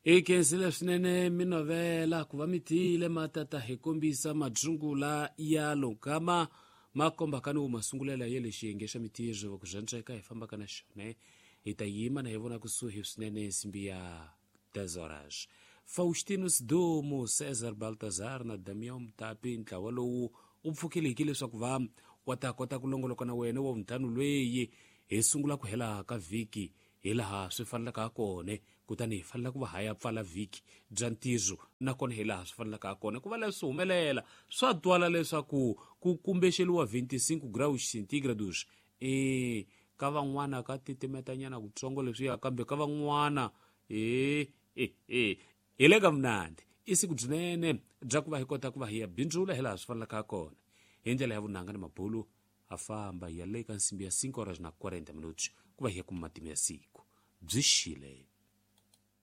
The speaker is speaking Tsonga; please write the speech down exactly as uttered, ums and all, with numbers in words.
Hi khensile swinene minovela ku va mi tiyile matata hi kombisa madzungula ya logama ma kombaka ni wo masungulela ya le xiyenge xa mitirho ku zwandzeka hi fambaka na xona hi ta yima na hi vona kusuhi swinene nsimbi ya dez horas. Faustino Sidumo, Cesar Baltazar na Damião Mutapi, ntlawa lowu wu pfukile leswaku va wa ta kota ku longoloka na wena wa vuntlhanu lweyi hi sungula ku hela ka vhiki hi laha swi fanelaka ha kona, kutani hi fanele ku va haya pfala vhiki bya ntirho nakona hi laha swi fanelaka ha kona ku va leswi humelela swa twala leswaku ku kumbexeliwa vinte e cinco graus centígrados e ka van'wana ka titimetanyana kutsongo leswiya, kambe ka van'wana e e e hi le ka munandi. I siku byinene bya ku va hi kota ku va hi ya bindzula hi laha swi fanelaka ha kona hi ndlela ya vunanga ni mabulu ha famba hi ya le ka nsimbi ya cinco horas na quarenta minutos ku va hi ya kuma matimu ya siku byi xile.